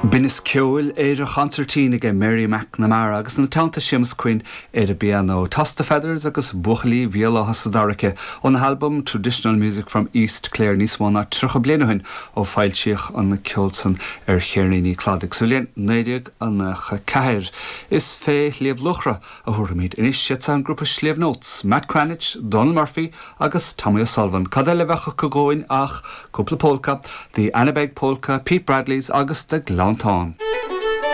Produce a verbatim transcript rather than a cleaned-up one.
Binneas ceoil ar an chonsairtín aige Mary McNamara agus ina teannta Séamus Quinn ar an bpianó Toss the Feathers agus Buachaillí Bhéal Átha sa Daraike óna halbum Traditional Music from East Clare níos mó ná tríocha bliain ó shin ó foilsíodh an ceol san ar cheirníní Cladaigh sa bhliain naoi déag nócha ceathair. Is fé Shliabh Luachra a thabharfaimid anois siad an grúpa Sliabh Notes, Matt Cranitch, Donal Murphy agus Tommy O'Sullivan. Cad eile a bheadh acu dhúinn ach cúpla polca, The Anabeg Polka, Pete Bradley's agus The Gleanntáin.